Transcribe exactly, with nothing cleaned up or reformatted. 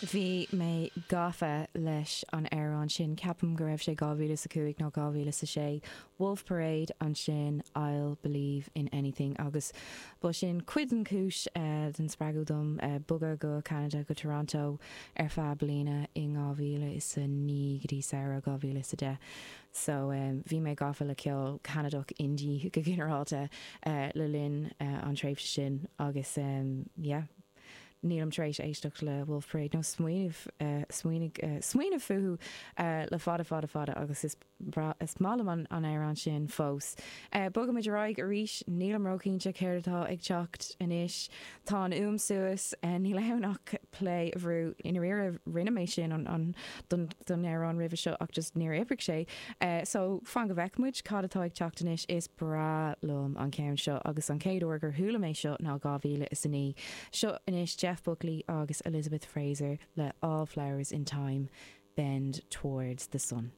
Bhí mé gafa leis an amhrán sin ceapaim go raibh sé dhá mhíle is a cúig nó dhá mhíle is a sé. Wolf Parade ansin I'll Believe in Anything agus ba sin cuid den chúis uh, den spreagadh dom uh, bogadh go Canada go Toronto ar feadh bliana in dhá mhíle is a naoi go dtí samhradh dhá mhíle is a deich. So um, bhí mé gafa le ceol Canadach indie go ginearálta uh, le linn uh, an tréimhse sin agus um, yeah, nílim tar éis éisteacht le Wolf Parade nó smaoineamh uh, smaoineamh uh, smaoineamh fúthu uh, le fada fada fada agus is is maith liom an an amhrán sin fós. Uh, Bogaimid ar aghaidh arís nílim róchinnte céard atá ag teacht anois Tá an fhuaim suas uh, níl ann ach play a bhrú ina ri rinne mé sin an, an don don amhrán roimhe seo ach just níor oibrigh sé. Uh, so fan go bhfeicfimid cad atá ag teacht anois is breá liom an ceann seo agus an chéad uair gur chuala mé seo ná dhá mhíle is a naoi. Seo anois Jeff Buckley agus Elizabeth Fraser le All Flowers in Time, Bend Towards the Sun.